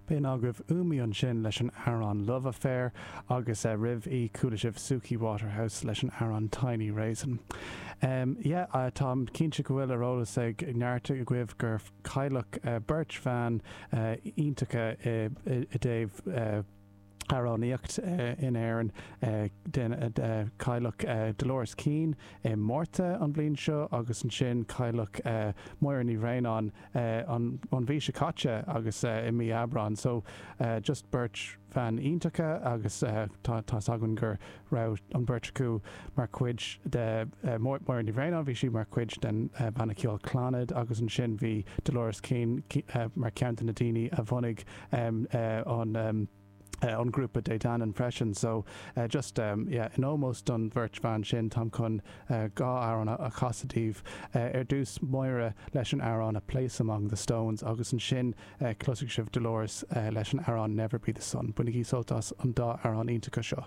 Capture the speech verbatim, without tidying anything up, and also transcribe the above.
B'in agaibh Umi ansin leis an amhrán Love Affair agus roimh í chuala sibh Suki Waterhouse leis an amhrán Tiny Raisin. Um, yeah, uh, táim cinnte go bhfuil ar eolas ag neart agaibh gur cailleadh uh, beirt bhan uh, iontacha i, i, i dtaobh uh, amhránaíocht uh, in Éirinn uh, den uh, cailleadh uh, Dolores Keane i Márta an bhliain seo agus ansin cailleadh uh, Máire Ní Bhraonáin uh, an, an mhí seo caite agus uh, i mí Aibreán so uh, just beirt bhan iontacha agus uh, tá againn gur raibh an beirt acu mar chuid de uh, Máire Ní Bhraonáin bhí sí mar chuid den uh, banna ceoil Clannad agus ansin bhí Dolores Keane uh, mar ceann de na daoine a bhunaigh um, uh, an um, uh, an grúpa De Danann freisin so uh, just um, yeah, in ómós don bheirt bhan sin táim chun uh, dhá amhrán a chasadh daoibh uh, ar dtús Máire leis an amhrán a Place Among the Stones agus ansin uh, cloisfidh sibh Dolores uh, leis an amhrán Never Be the Sun. Bainigí sult as an dá amhrán iontacha seo.